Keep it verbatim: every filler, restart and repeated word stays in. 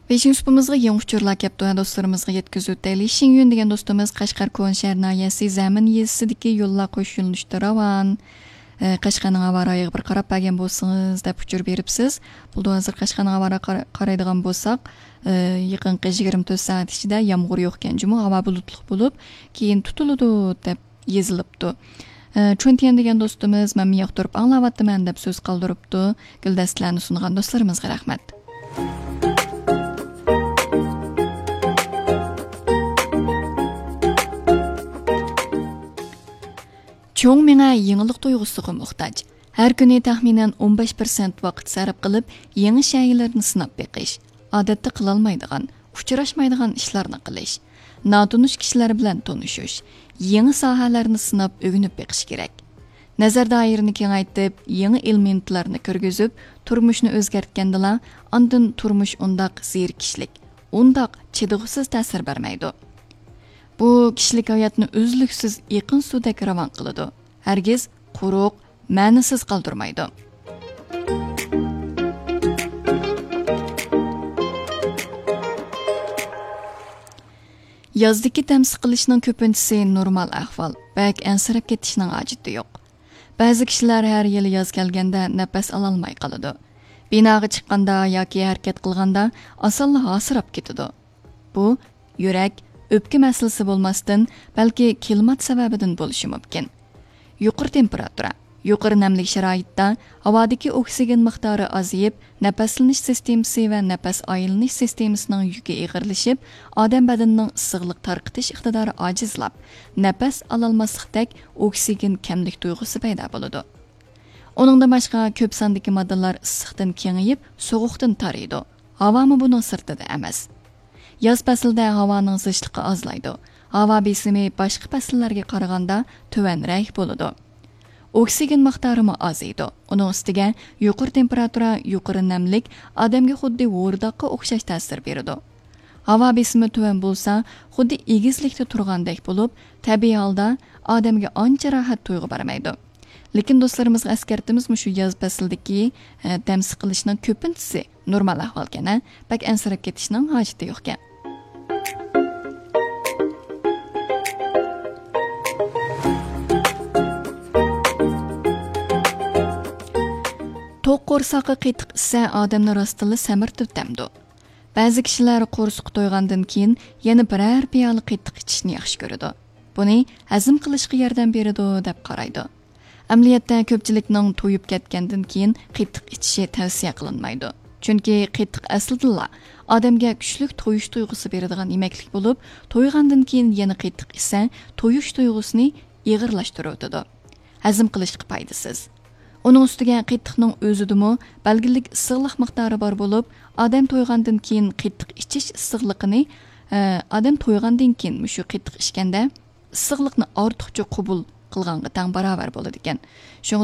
بېشىنچى سۇپىمىزغا يېڭى ئۇچۇرلار كەپتۇ، دوستلىرىمىزغا يەتكۈزۈۋۆتەيلى. شىڭيۈن دېگەن دوستىمىز قەشقەر كونىشەھەر ناھىيەسى زەمىن يېزىسىدىكى يوللار قوشۇش يۆنىلىشىدە راۋان. ئە، قەشقەرنىڭ ھاۋا رايىغا بىر قاراپ بەرگەن بولسىڭىز دەپ ئۇچۇر بېرىپسىز. بولىدۇ، ھازىر قەشقەرنىڭ ھاۋا رايىغا قارا-، قارايدىغان بولساق، ئە، يېقىنقى يىگىرمە تۆت سائەت ئىچىدە يامغۇر يوقكەن جۇمۇ، ھاۋا بۇلۇتلۇق بولۇپ، كېيىن تۇتۇلىدۇ دەپ يېزىلىپتۇ. ئە، چۈەنتيەن دېگەن دوستىمىز، مەنمۇ ياقتۇرۇپ ئاڭلاۋاتىمەن دەپ سۆز قالدۇرۇپتۇ. گۈلدەستىلەرنى سۇنغان دوستلىرىمىزغا رەھمەت. چوڭ مېڭە يېڭىلىق تۇيغۇسىغا موھتاج. ھەر كۈنى تەخمىنەن ئون بەش پىرسەنت ۋاقىت سەرپ قىلىپ، يېڭى شەيئىلەرنى سىناپ بېقىش، ئادەتتە قىلالمايدىغان، ئۇچراشمايدىغان ئىشلارنى قىلىش، ناتونۇش كىشىلەر بىلەن تونۇشۇش، يېڭى ساھەلەرنى سىناپ ئۆگىنىپ بېقىش كېرەك. نەزەر دائىرىنى كېڭەيتىپ، يېڭى ئېلېمېنتلارنى كىرگۈزۈپ، تۇرمۇشنى ئۆزگەرتكەندىلا، ئاندىن تۇرمۇش ئۇنداق زېرىكىشلىك، ئۇنداق چىدىغۇسىز تەسىر بەرمەيدۇ. بۇ كىشىلىك ھاياتنى ئۈزلۈكسىز ئېقىن سۇدەك راۋان قىلىدۇ. ھەرگىز قۇرۇق، مەنىسىز قالدۇرمايدۇ. يازدىكى دەم سىقىلىشنىڭ كۆپىنچىسى نورمال ئەھۋال، بەك ئەنسىرەپ كېتىشنىڭ ھاجىتى يوق. بەزى كىشىلەر ھەر يىلى ياز كەلگەندە نەپەس ئالالماي قالىدۇ. بىناغا چىققاندا ياكى ھەرىكەت قىلغاندا ئاسانلا ھاسىراپ كېتىدۇ. بۇ يۈرەك، ئۆپكە مەسىلىسى بولماستىن، بەلكى كىلىمات سەۋەبىدىن بولۇشى مۇمكىن. يۇقىرى تېمپېراتۇرا، يۇقىرى نەملىك شارائىتتا ھاۋادىكى ئوكسىگېن مىقدارى ئازىيىپ، نەپەسلىنىش سىستېمىسى ۋە نەپەس ئايلىنىش سىستېمىسىنىڭ يۈكى ئېغىرلىشىپ، ئادەم بەدىنىنىڭ ئىسسىقلىق تارقىتىش ئىقتىدارى ئاجىزلاپ، نەپەس ئالالماسلىقتەك ئوكسىگېن كەملىك تۇيغۇسى پەيدا بولىدۇ. ئۇنىڭدىن باشقا، كۆپ ساندىكى ماددىلار ئىسسىقتىن كېڭىيىپ، سوغۇقتىن تارىيدۇ. ھاۋامۇ بۇنىڭ سىرتىدا ئەمەس. ياز پەسلىدە ھاۋانىڭ زىچلىقى ئازلايدۇ. ھاۋا بېسىمى باشقا پەسىللەرگە قارىغاندا تۆۋەنرەك بولىدۇ. ئوكسىگېن مىقدارىمۇ ئازىيىدۇ. ئۇنىڭ ئۈستىگە يۇقىرى تېمپېراتۇرا، يۇقىرى نەملىك ئادەمگە خۇددى ھورداققا ئوخشاش تەسىر بېرىدۇ. ھاۋا بېسىمى تۆۋەن بولسا، خۇددى ئېگىزلىكتە تۇرغاندەك بولۇپ، تەبىئىي ھالدا ئادەمگە ئانچە راھەت تۇيغۇ بەرمەيدۇ. لېكىن دوستلىرىمىزغا ئەسكەرتىمىز، مۇشۇ ياز پەسلىدىكى، ئە، دەم سىقىلىشنىڭ كۆپىنچىسى نورمال ئەھۋالكەن، ھە؟ بەك ئەنسىرەپ كېتىشنىڭ ھاجىتى يوقكەن. توق قورساققا قېتىق ئىچسە، ئادەمنى راستتىنلا سەمرىتىۋېتەمدۇ؟ بەزى كىشىلەر قورسىقى تويغاندىن كېيىن يەنە بىرەر پىيالە قېتىق ئىچىشنى ياخشى كۆرىدۇ. بۇنى ھەزىم قىلىشقا ياردەم بېرىدۇ دەپ قارايدۇ. ئەمەلىيەتتە، كۆپچىلىكنىڭ تويۇپ كەتكەندىن كېيىن قېتىق ئىچىشى تەۋسىيە قىلىنمايدۇ. چۈنكى قېتىق ئەسلىدىنلا ئادەمگە كۈچلۈك تويۇش تۇيغۇسى بېرىدىغان يېمەكلىك بولۇپ، تويغاندىن كېيىن يەنە قېتىق ئىچسە، تويۇش تۇيغۇسىنى ئېغىرلاشتۇرۇۋېتىدۇ. ھەزىم قىلىشقا پايدىسىز. ئۇنىڭ ئۈستىگە قېتىقنىڭ ئۆزىدىمۇ بەلگىلىك ئىسسىقلىق مىقدارى بار بولۇپ، ئادەم تويغاندىن كېيىن قېتىق ئىچىش ئىسسىقلىقىنى، ئە، ئادەم تويغاندىن كېيىن مۇشۇ قېتىق ئىچكەندە ئىسسىقلىقنى ئارتۇقچە قوبۇل قىلغانغا تەڭ باراۋەر بولىدىكەن. شۇڭا